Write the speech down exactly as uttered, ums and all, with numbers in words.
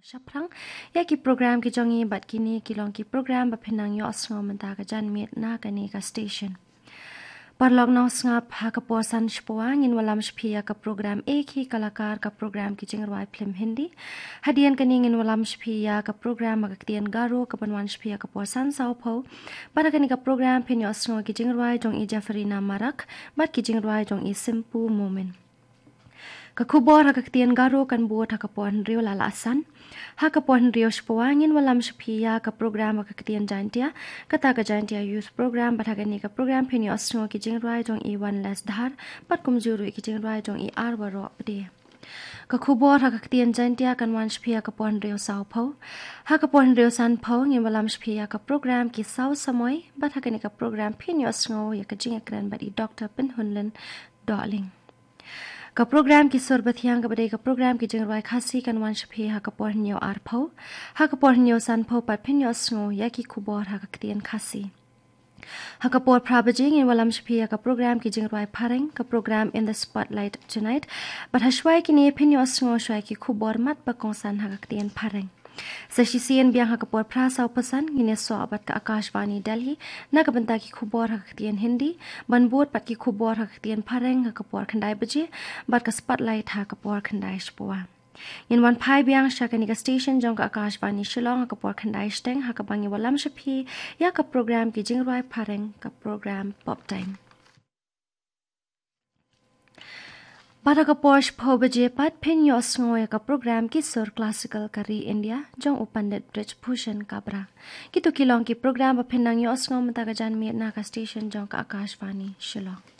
Shaphrang ïa ki program ki jong ngi, bad kine ki long ki program ba phin nang ïohsngew mynta ka janmiet na kane ka station. Paralok nongsngap, ha ka por san shiphew ngi wan lam sha phi ïa ka program Ek Hi Kalakar, ka program ki jingrwai phlim Hindi. Hadien kane ngi wan lam sha phi ïa ka program ha ka ktien Garo ka ban wan sha phi ha ka por san sawphew. Bad ha kane ka program phin ïohsngew ki jingrwai jong i Jefferina Marak bad ki jingrwai jong i Simpu Momin. Ka khubor ha ka ktien Garo kan bud ha ka por hynriew la la san. Ha ka por hynriew shiphew ngi wan lam sha phi ïa ka program ha ka ktien Jaintia, kata ka Jaintia Youth Program, bad ha kane ka program phin ïohsngew ki jingrwai jong i Wanles Dhar bad kumjuh ruh ki jingrwai jong i Arwaroh Pde. Ka khubor ha ka ktien Jaintia kan wan sha phi ha ka por hynriew sawphew. Ha ka por hynriew sanphew ngi wan lam sha phi ïa ka program Ki Saw Samoi, bad ha kane ka program phin ïohsngew ïa ka jingïakren bad i Doktor Pynhunlin Dohling. Ka program Ki Sur Bathiang, kaba dei ka program ki jingrwai Khasi, kan wan sha phi ha ka por hynñiew arphew. Ha ka por hynñiew sanphew pat phin ïohsngew ïa ki khubor ha ka ktien Khasi. Ha ka por phra baje ngi wan lam sha phi ïa ka program ki jingrwai phareng, ka program In the Spotlight Tonight. Bad ha shwa ïa kine phin ïohsngew shwa ïa ki khubor mat ba kongsan ha ka ktien phareng. Sa shisien biang ha ka por phra sawphew san ngin ïasoh bad ka Akashvani Delhi na ka bynta ki khubor ha ka ktien Hindi, ban bud bad ki khubor ha ka ktien phareng ha ka por khyndai baje, bad ka Spotlight ha ka por khyndai shiphew. Ngin wan phai biang sha kane ka station jong ka Akashvani Shillong ha ka por khyndai shiteng, ha kaba ngi wan lam sha phi ïa ka program ki jingrwai phareng, ka program Pop Time. Bad ha ka por shiphew baje pat phin ïohsngew ïa ka program Ki Sur Classical ka Ri India jong u Pandit Brij Bhushan Kabra. Kito ki long ki program ba phin nang ïohsngew mynta ka janmiet na ka station jong ka Akashvani Shillong.